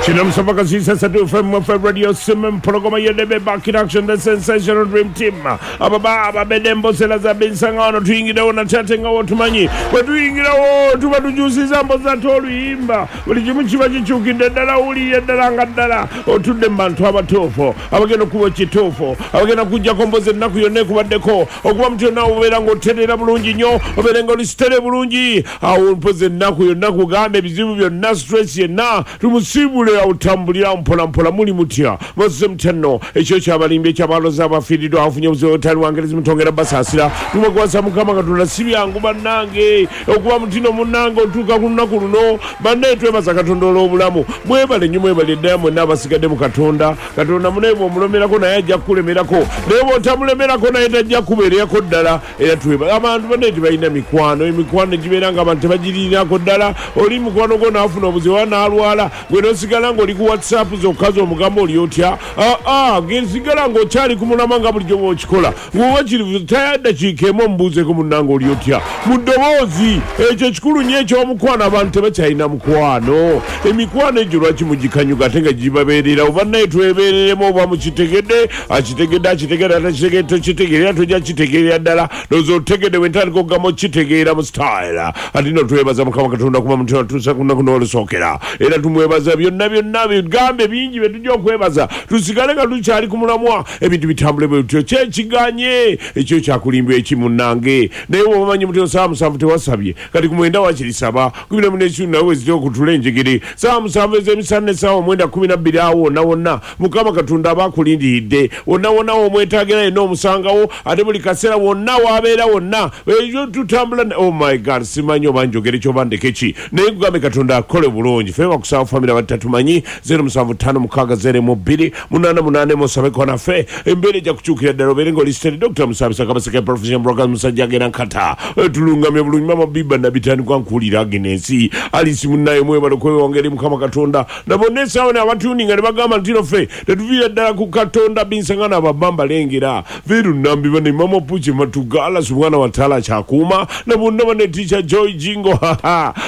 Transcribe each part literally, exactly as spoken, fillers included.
Kino Musaba Kasisa Satu F M F M Radio Simon Progoma Yedebe back in action, the sensational dream team. Ababa ababedde mbosera za binsangano tuyingirewo natate nga wotumanyi bwe tuyingirawo tuba tukyusiza mbozi ate oluyimba buli kimu kiba kikyukidde ddala wulire ddala nga ddala otudde mu bantu abatuufu abagenda okuba ekituufu abagenda kujjako mbozi ennaku yonna ekubaddeko okuba mutyo naawe obeera ng'otereera bulungi nnyo obeere nga olisitere bulungi awo mpozi ennaku yonna kugamba ebizibu byonna stress yenna tumusiibule awo tambulira mpola mpola muli mutya mwazize mutya nno ekyo kyabalimbi ekyabaloza abafiiriddwa abafunye obuzibu obutali wangerezi mutongera basaasira tumwekwasa Mukama Katonda si byangu bannange okuba mutino munnange otuuka ku lunaku luno bannaye twebaza Katonda olw'obulamu mwebale nnyo mwebale ddala mwenna abasigadde mu Katonda. Katonda munaye bw'omulemerako naye ajja kukulemerako naye bw'otamulemerako naye tajja kubeererako ddala era twebale abantu bannaye tebalina mikwano emikwano gibeera nga abantu tebagirinako ddala oli mukwano gwo n'afuna obuzibu oba n'alwala gwe n'osigala ng'oli ku WhatsApp zokka z'omugamba oli otya aa sigala ng'okyali ku mulama nga bulijjo bw'okikola ng'oba kiri tayaddakiika emu omubuuzeeko munnange oli otya mu ddoboozi ekyo kikulu nnyo eky'omukwano abantu tebakyalina mukwano emikwano egyo lwaki mugikanyuga ate nga gibabeererawo bannaye twebeereremu oba mukitegedde akitegedde akitegedde atakitegedde tokitegeera tojja kitegeerera ddala ndowooza otegedde bwe ntandika okugamba okitegeera mu style ate nno twebaza Mukama Katonda kuba mutima tuusa ku lunaku n'olusookera era tumwebaza byonna byonna bigambe bingi bye tujja okwebaza tusigale nga tukyali ku mulamwa ebintu bitambule bwe bityo kyekiganye ekyo kyakulimba eki munnange naye bw'oba omanyi muti saawa musanvu tewasabye kati ku mwenda wakiri saba kumi na munekitundu nawe wezitya okutula enjegere saawa musanvu ez'emisana ne saawa mwenda kumi na bbiri awo wonna wonna Mukama Katonda aba akulindiridde wonna wonna w'omwetaagira yenna omusangawo ate buli kaseera wonna w'abeera wonna ekyo tutambula oh my God simanyi oba njogere kyoba ndeke ki naye kugambe Katonda akole bulungi ffe bakusaba famire abatatumanyi zero musanvu ttaano mukaaga zero mu bbiri munaana munaana musabeko naffe embeera ejja kukyukira ddala obeere ng'oli steady Doctor Musabisa Kabaseke profession broker musajja agenda nkata tulungamye bulungi mama Biba nabitandikwa nkuwulira Agnes Alice munnaye mwebale okwewongera Mukama Katonda na bonna essaawa abatuninga ne bagamba nti no ffe tetuviira ddala ku Katonda binsangana ababamba lengera veru nambi bane mama Puche Matugala mwana wa Tala Kyakuuma na bonna bane teacher Joy Jingo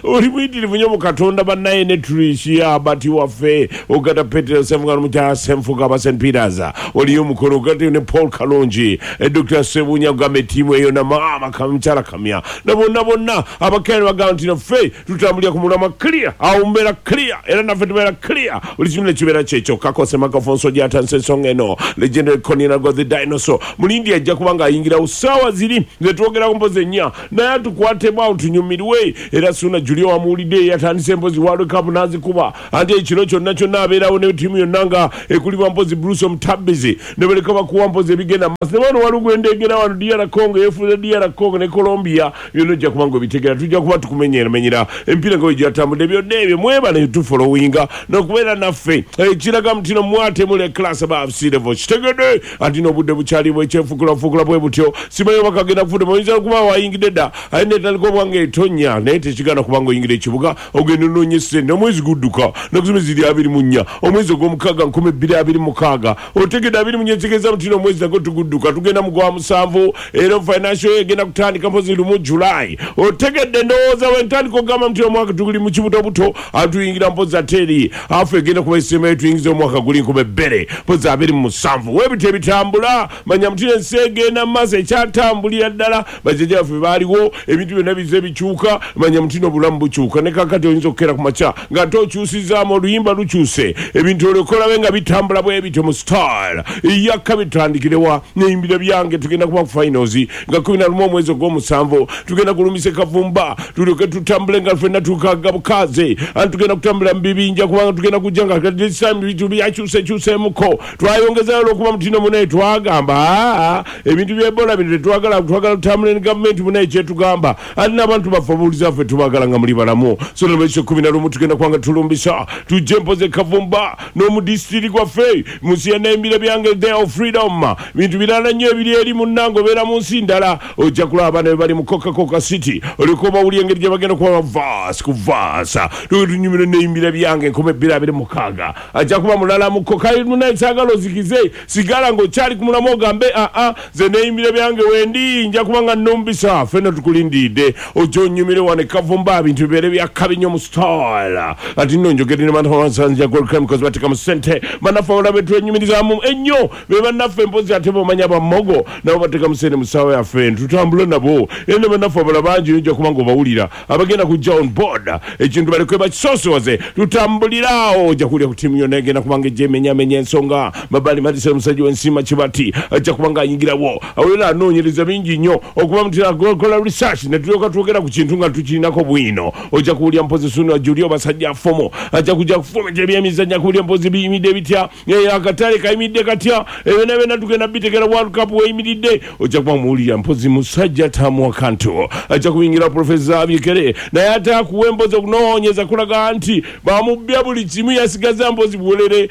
oli muyitirivu nnyo mu Katonda bannaye ne Tricia abati waffe ogata Petero Semugano mukyala Senfuga aba Saint Peters oliyo omukono ogate ne Paul Kalongi Doctor Sebunya ogamba ettiimu eyo na maama mukyala Kamya na bonna bonna abakere bagamba nti naffe tutambulira ku mulamwa clear awo mbeera clear era naffe tubeera clear buli kimu nekibeera kyekyo kakose makafonso gyatanse ensonga eno legendary Konina go the dinosaur mulindi ajja kuba ng'ayingirawo ssaawa ziri ze twogerako mpozi ennya naye atukwatemu awo tunyumirwe era Suna Julio wamuwulidde yatandise empozi World Cup n'azikuba anti ekiro kyonna kyonna abeerawo ne ttiimu yonna nga ekulibwa mpozi Bruce Omutabbizi ne baleka bakuwa mpozi ebigenda maaso ne bano waliwo gwendegera wano D R Congo yeefuze D R Congo ne Colombia byonna ojja kuba ng'obitegera tujja kuba tukumenyeramenyera empiira nga bwe gyatambudde byonna ebyo mwebale tufollowinga n'okubeera naffe ekiraga mutino mwatemula class above sea level kitegedde anti n'obudde bukyali bwekyefukulafuukula bwe butyo simanyi oba kagenda kufudde oyinza okuba wayingidde dda aye netandika oba nga etonya naye tekigaana kubanga oyingira ekibuga ogenda onoonya essente omwezi gudduka nakusoma ziri abiri mu nnya omwezi ogw'omukaaga nkumi bbiri abiri mukaaga otegedde abiri mu nnya ekitegeeza mutino omwezi nagwo tugudduka tugenda mu gwa musanvu era financial year egenda kutandika mpozi lumu July otegedde ndowooza bwe ntandika okugamba nti omwaka tuguli mu kibutobuto atuyingira mpozi ate eri afu egenda kuba esemayo tuyingiza omwaka guli nkumi bbiri mpozi abiri mu musanvu webityo ebitambula manya mutino ensi egenda mu maaso ekyatambulira ddala bajjajja baffe baaliwo ebintu byonna bize bikyuka manya mutino obulamu bukyuka ne kakati oyinza okukeera ku makya ng'ate okyusizaamu oluyimba lukyuse ebintu olekolabe nga bitambula bwe bityo mu style yakka bitandikirewa neyimbira byange tugenda kuba ku finals nga kumi na lumu omwezi ogw'omusanvu tugenda kulumisa Kavumba tulyoke tutambule nga ffenna tukaga bukaze anti tugenda kutambula mu bibinja kubanga tugenda kujja nga this time ebintu byakyusekyuseemuko twayongezayo olw'okuba mutino munaye twagamba aa ebintu bya Ebola bino tetwagala twagala tutambule ne gavumenti munaye kyetugamba ate n'abantu baffe obuwuliza ffe tubagala nga muli balamu so nolwekyo kumi na lumu tugenda kubanga tulumbisa tujje mpoze Kavumba n'omudisitiri gwaffe mu nsi ya naimbira byange day of freedom bintu birala nnyo ebiri eri munnange obeera mu nsi ndala ojja kulaba abaana be bali mu Coca Coca City olyoka obawulira engeri gye bagenda kuba verse ku verse tunyumire neimbira byange nkumi bbiri abiri mukaaga ajja kuba mulala mu Coca munaye saagala ozikize sigala ng'okyali ku mulamu ogambe aa ze neimbira byange wendi nja kuba nga nnumbisa ffenna tukulindidde ojja onyumire wano e Kavumba bintu bibeere byakabi nnyo mu style ati nno njogedde ne Samantha Gold Creme bateka mu ssente. Bannaffe abalala betwenyumirizaamu ennyo be bannaffe mpozi ate bomanya bamogo nabo bateka mu ssente mu ssaawa yaffe tutambule nabo. Era ne bannaffe abalala bangi ojja kuba ng'obawulira abagenda kujja on board ekintu balekwe bakisosoze tutambulirawo. Ojja kuwulira ku ttiimu yonna egenda kubanga ejja emenyamenya ensonga. Mabali Madison omusajja w'ensiima Kibati ajja kuba ng'ayingirawo awera anoonyereza bingi nnyo okuba mutera kola research ne tulyoka twogera ku kintu nga tukirinako bwino. Ojja kuwulira mpozi Sunu Julio basajja fomo ajja kujja kufumita ebyemizannyo kuwulira mpozi biyimidde bitya, akatale kayimidde katya, ebyo byonna tugenda bitegera World Cup weyimiridde. Ojja kuba muwulira mpozi musajja Tamu Kanto ajja kuyingira Professor Abikere naye ate akuwa empozi okunoonyeza kulaga nti bamubbya buli kimu yasigaza mpozi buwerere.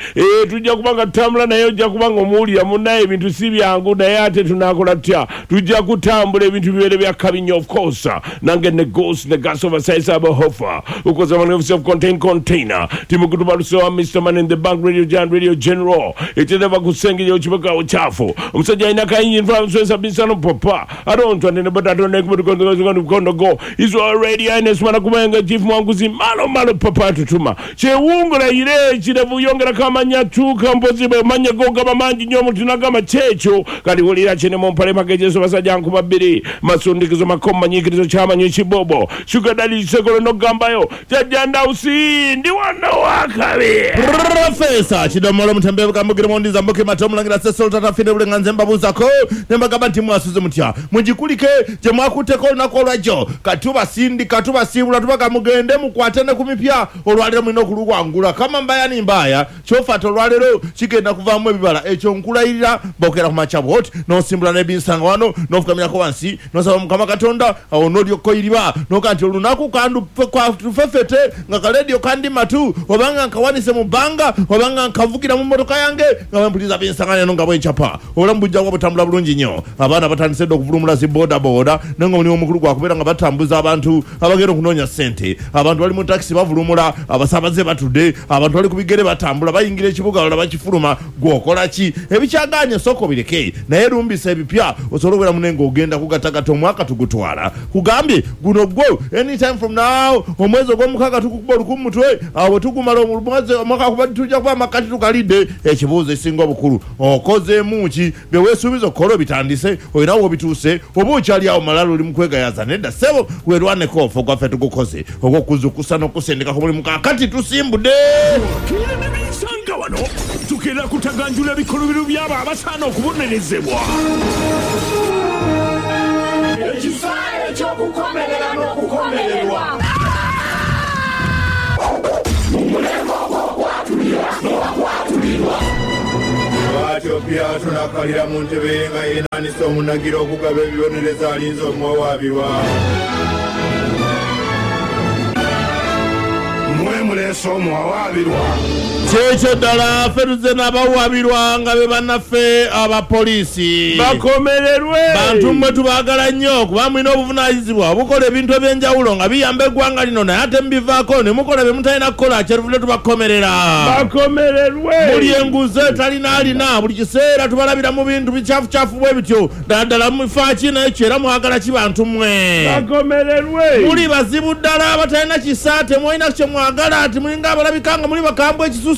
Tujja kuba nga tutambula naye ojja kuba nga omuwulira munnaye ebintu si byangu naye ate tunaakola tutya, tujja kutambula ebintu bibeere bya kabi nnyo. Of course nange ne ghost ne gas over size abohofa ukoza man of self contained container timukutubalusewa Mister Man in the Bank Radio Jan Radio General etereva kusengenya okibuga ochafu omusajja alina kayingi nfra bisano papa arontwa nene but atonekukondo is already ines mwana kubenga chief mwanguzi malo malo papa tutuma kyewungula ire kirevu yongera kamanya tuka mpozi manya goga mangi nnyo mutunagamba kyekyo kali wulira kyene mumpale magejeso basajja nkuba bbiri masundikizo makoma nyikirizo kyamanyi kibobo sugar daddy sekolo nogambayo jajja ndausi ndi wano wakabi Professor Chidomolo Mutembe kambugira mondiza mboke matomulangira sesol tata fine bulenganze mbabuuzako ne mbagamba nti mwasuze mutya mugikulike gye mwakutteko olunaku olwajjo katubasindika tubasiibula tubaga mugende mukwate ne ku mipya olwaleero mulina okuluwangula kama mbaya ni mbaya kyofata olwaleero kigenda kuvaamu ebibala ekyo nkulayirira bokera ku makya bwoti n'osimbula n'ebinsanga wano n'ofukamirako wansi n'osaba Mukama Katonda awo n'olyoka oyiriba n'oga nti olunaku kandufefete nga kalediyo kandi matu obanga nkawanise mu bbanga obanga nkavugira mu mmotoka yange nga bwempuliza binsanga eno nga bwenkyapa obulamu bujja kuba butambula bulungi nnyo. Abaana batandise dda okuvulumula zi bodaboda naye nga omulimu omukulu gwakubeera nga batambuza abantu abagenda okunoonya ssente. Abantu bali mu takisi bavulumula, abasaabaze batudde, abantu bali ku bigere batambula bayingira ekibuga balala bakifuluma. Gw'okola ki? Ebikyagaanye sooka obireke naye lumbisa ebipya osobole okubeera munne ng'ogenda kugatagata omwaka tugutwala. Kugambye guno gwo anytime from now omwezi ogw'omukaaga tukukuba olukumu mutwe awo bwe tugumala omwezi omwaka kuba tujja kuba amakati tukalidde. Ekibuuzo ekisinga obukulu okozeemu ki? Bye weesuubiza okukola obitandise olinawo obituuse oba okyali awo malala oli mu kwegayaza? Nedda ssebo, weerwaneko ofe ogwaffe tugukoze ogw'okuzukusa n'okusindika ku mulimu. Kaakati tusimbudde nga wano tugenda kutaganjula ebikolobero by'abo abasaana okubonerezebwa. Ekisaawe ky'okukomerera n'okukomererwa. Bw'atyo Piraato n'akkalira mu ntebe ye nga yenaanisa omunagira okugaba ebibonerezo alinze omuwawaabirwa. Mmwe muleese omuwawaabirwa. Kyekyo ddala ffe tuzze n'abawaabirwa nga be bannaffe abapoliisi. Bakomererwe! Bantu mmwe tubaagala nnyo kuba mulina obuvunaanyizibwa obukola ebintu eby'enjawulo nga biyamba eggwanga lino naye ate mubivaako ne mukola bye mutalina kukola kyeruvudde tubakomerera. Bakomererwe! Muli enguzi etalina alina buli kiseera tubalabira mu bintu bikyafucyafu bwe bityo ddala ddala mufa ki naye kyo era mwagala ki bantu mmwe? Bakomererwe! Muli bazibu ddala abatalina kisa temulina kye mwagala ati mulinga abalabika nga muli bakambwe ekisusse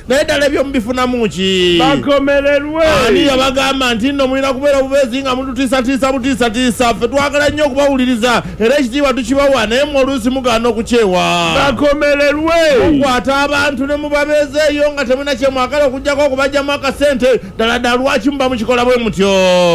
naye ddala ebyo mubifunamu ki? Bakomererwe! Ani yabagamba nti nno mulina kubeera bubeezi nga mututiisatiisa butiisatiisa? Ffe twagala nnyo okubawuliriza era ekitiibwa tukibawa naye mmwe oluusi mugaana okukyewa. Bakomererwe! Mukwata abantu ne mubabeeza eyo nga temulina kye mwagala okuggyako okubajjamu akasente. Ddala ddala lwaki muba mukikola bwe mutyo?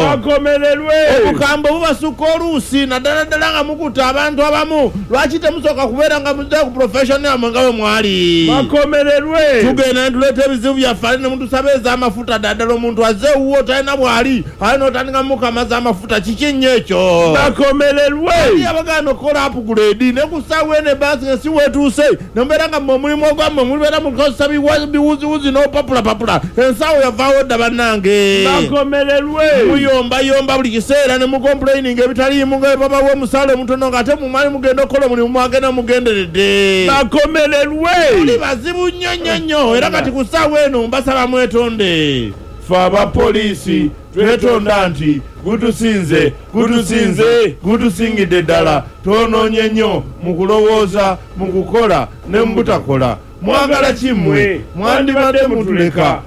Bakomererwe! Obukambwe bubasukka oluusi naddala ddala nga mukutta abantu abamu. Lwaki temusooka kubeera nga muzze ku profession yammwe nga bwe mwali? Bakomererwe! Tugenda ne tuleeta ebizibu byaffe ate ne mutusaba ez'amafuta. Ddala ddala omuntu azze ewuwo talina bw'ali ate n'otandika mukamaza amafuta kiki nnyo ekyo? Bakomererwe! Ani abagaana okukola upgrade ne ku ssaawa eno ebbaasi nga si weetuuse ne mubeera nga mmwe omulimu ogwammwe mulibeera mukozesa biwuziwuzi n'opapulapapula. Ensawo yavaawo dda bannange. Bakomererwe! Muyombayomba buli kiseera ne mukomplaininga ebitaliimu nga babawa omusaala omutono ng'ate mumali mugenda okukola omulimu mwagenda mugenderedde. Bakomererwe! Muli bazibu nnyo nnyo nnyo era kati ku ssaawa eno mbasaba mwetonde. Ffe abapoliisi twetonda nti gutusinze gutusinze gutusingidde ddala. Twonoonye nnyo mu kulowooza, mu kukola ne mu butakola. Mwagala kimmwe? Mwandibadde mutuleka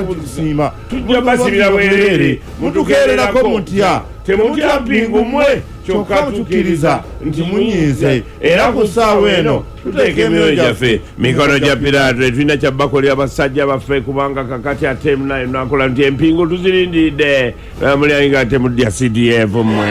mutusiima, tujja basibira bwereere. Mutukeererako mutya? Temutya mpingu mmwe, kyokka tukkiriza nti munyiize, era ku ssaawa eno tuteeka emyoyo gyaffe mikono gya Piraato. Tetulina kyabbakolera basajja baffe, kubanga kakati ate naye nakola nti empingu tuzirindiridde. Mulyange, temudya C D F mmwe.